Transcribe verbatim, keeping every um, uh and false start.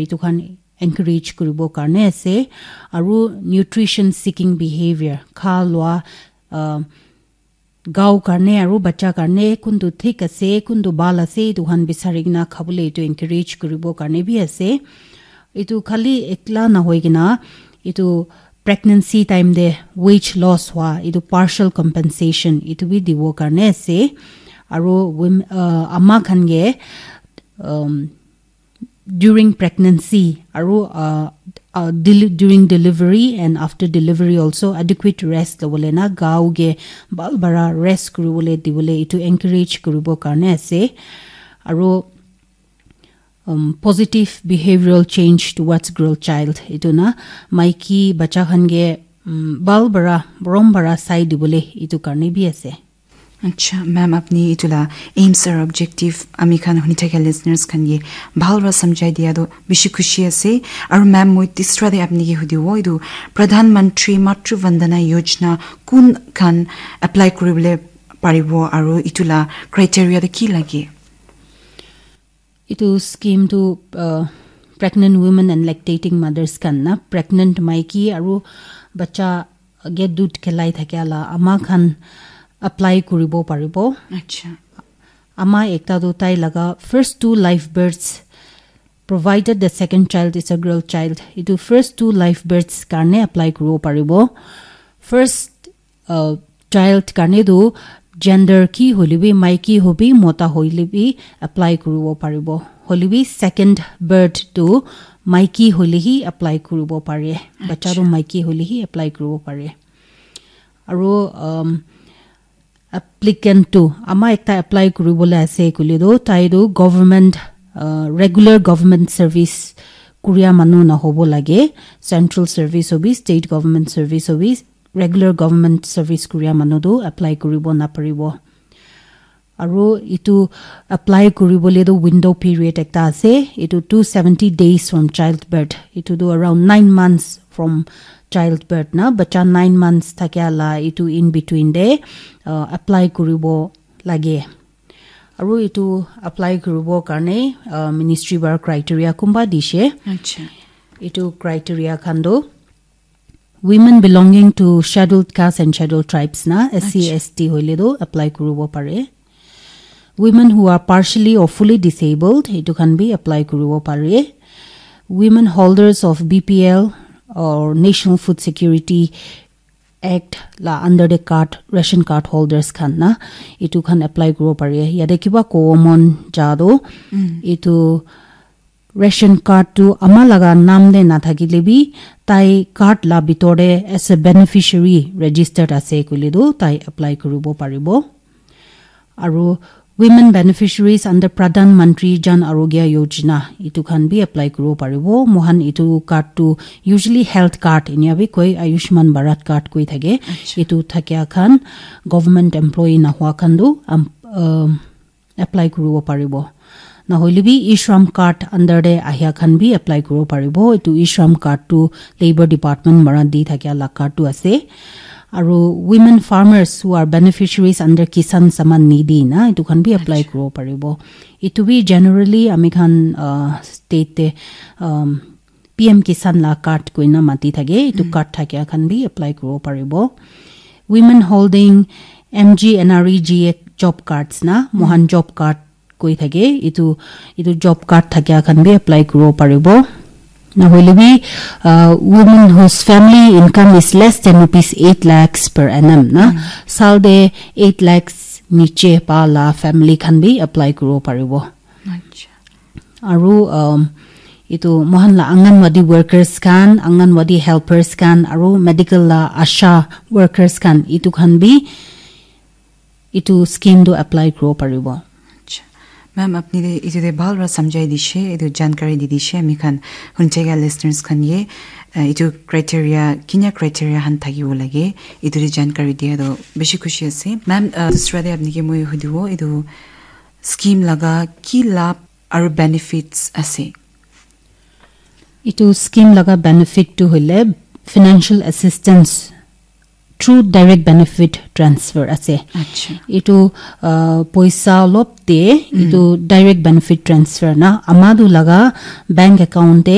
etu khan encourage kuribo karne ase. Aru nutrition seeking behavior, kha lua, uh, gao karne aru bacha karne kuntu thik ase, kuntu bhal ase, etu khan bisari kena khabole etu encourage kuribo karne bi ase. Etu khali ekla nahoi kena, etu pregnancy time te weight loss hua, etu partial compensation, etu bi dibo karne ase. Aru women, uh, ama khan ke, um, during pregnancy aru, uh, uh, del- during delivery and after delivery also adequate rest lobole na, gao ke bhal bara rest kuribole dibole etu encourage kuribo karne ase. Aru, um, positive behavioral change towards girl child, etu na maiki bacha khan ke, um, bhal bara, borom bara sai dibole etu karne bi ase. Acha, ma'am, apni etu la aims aru objective ami khan huni thakia listeners khan ke bhal para samjhai dia toh bishi khushi ase. Aru ma'am, moi tisra te apni ke hudibo, etu Pradhan Mantri Matru Vandana Yojana kun khan apply kuribole paribo aru etu la criteria toh ki lage? Etu scheme tu, uh, pregnant women and lactating mothers khan na, pregnant maiki aru bacha ke dud khelai thakia la ama khan apply kuribo paribo. Acha. Ama ekta tu tai laga first two live births, provided the second child is a girl child. Etu first two live births karne apply kuribo paribo. First, uh, child karne tu gender ki hoile bi, maiki hobi, mota hoile bi apply kuribo paribo. Hoile bi second birth tu maiki hoile hi apply kuribo pare. Bacha tu Acha. Maiki hoile hi apply kuribo pare. Aru, um, applicant tu ama ekta apply kuribole ase koile tu tai tu government, uh, regular government service kuria manu na hobo lage. Central service hobi, state government service hobi, regular government service kuria manu tu apply kuribo na paribo. Aru etu apply kuribole tu window period ekta ase. Etu two seventy days from childbirth. Etu tu around nine months from childbirth na. Bacha nine months thakia la etu in between de, uh, apply kuribo lage. Aru etu apply kuribo karne, uh, ministry para criteria kumba dishe. Acha. Etu criteria khan tu women belonging to scheduled caste and scheduled tribes na, S C, Acha. S T hoile tu apply kuribo pare. Women who are partially or fully disabled, etu khan bi apply kuribo pare. Women holders of B P L or National Food Security Act la under the card, ration card holders khan na, etu khan apply kuribo pare. Yate kiba kobo mon ja tu, Mm. etu ration card tu ama laga naam te nathakile bi, tai card la bitor te as a beneficiary registered ase koile tu, tai apply kuribo paribo. Aru women beneficiaries under Pradhan Mantri Jan Arogya Yojana, etu khan bi apply kuribo paribo. Mohan etu card tu usually health card, enia bi koi, Ayushman Bharat card koi thake. Acha. Etu thakia khan, government employee nahua khan tu, um, um, apply kuribo paribo. Nahoile bi e-shram card under te ahia khan bi apply kuribo paribo. Etu e-shram card tu Labour Department para di thakia la card tu ase. Aru women farmers who are beneficiaries under Kisan Samman Nidhi na, etu khan bi apply Acha. Kuribo paribo. Etu bi generally ami khan, uh, state te, um, P M Kisan la card koina mati thake, etu Mm. card thakia khan bi apply kuribo paribo. Women holding M G N R E G A job cards na, mohan Mm. job card koi thake, etu, etu job card thakia khan bi apply kuribo paribo. Nahoile bi, uh, women whose family income is less than rupees eight lakhs per annum na, Mm. sal te eight lakhs niche pa la family khan bi apply kuribo paribo. Acha. Aru, um, etu mohan la Anganwadi workers khan, Anganwadi helpers khan, aru medical la ASHA workers khan, etu khan bi etu scheme tu apply kuribo paribo. Acha. Ma'am, apni de etu de bhal para samjhai dishe, etu jankari di dishe, ami khan huni thakia listeners khan ye, uh, etu criteria, kinia criteria khan thakibo lage, etu de jankari dia tu bishi khushi ase. Ma'am, uh, dusra de apni ke moi hudibo, etu scheme laga ki labh aru benefits ase? Etu scheme laga benefit tu hoile financial assistance through direct benefit transfer ase. Acha. Itu uh, poisa olop te itu direct benefit transfer na amadu laga bank account te